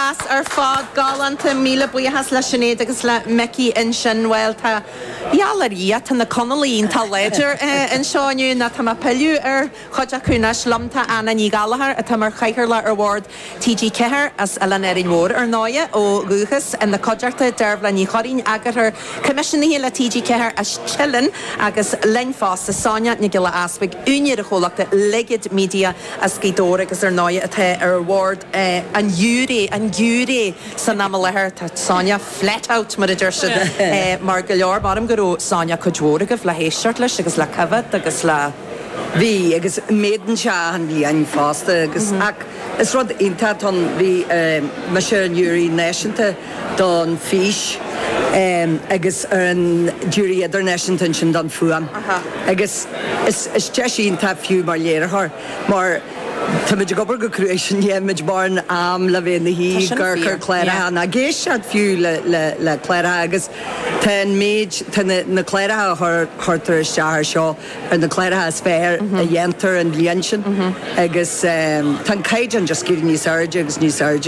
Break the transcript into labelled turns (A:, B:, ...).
A: Deas ar fad, galánta. Míle buíochas le Sinéad agus le Micí ansin. Bhuel, tá, gheall ar Dhia, tá na Conallaigh iontach láidir anseo inniu, nó tá mé ag pilleadh ar chuid acu anois. Liom tá Anna Ní Ghallchóir, atá mar chathaoirleach ar bhord TG4, as Oileán Árainn Mhór, ar ndóighe, ó dhúchas. Ina cuideachta, Deirbhile Ní Churraoin, eagarthóir coimisiúnaithe le TG4 as Teileann, agus linn fosta, Sonia Nic Giolla Easpaig, úinéir an chomhlachta Ligead Media as Gaoth Dobhair agus ar ndóighe atá ar bhord an ghiúiré, an giúiré san am i láthair. Tá Sonia flat out mar a deir siad mar go leor. Maram go raibh Sonia cuid mhór agaibh le héisteacht leis agus le coimhéad agus le.
B: Bhí agus méadaíonn sé achan bhliain fosta agus ach is rud iontach atá ann. Bhí mise ar an ghiúiré náisiúnta don fís agus ar an giúiré idirnáisiúnta ansin don fuaim agus is deis iontach fiú mar léiritheoir mar táimid ag obair go cruaidh sin nílimid mórán am le bheith ina shuí ag amharc ar chláracha ná ag éisteacht fiú le cláracha agus tá an méid, tá na cláracha a chuirtear isteach air seo ar na cláracha is fearr a dhéantar an bhliain sin agus tá an caighdeán just ag éirí níos airde agus níos airde.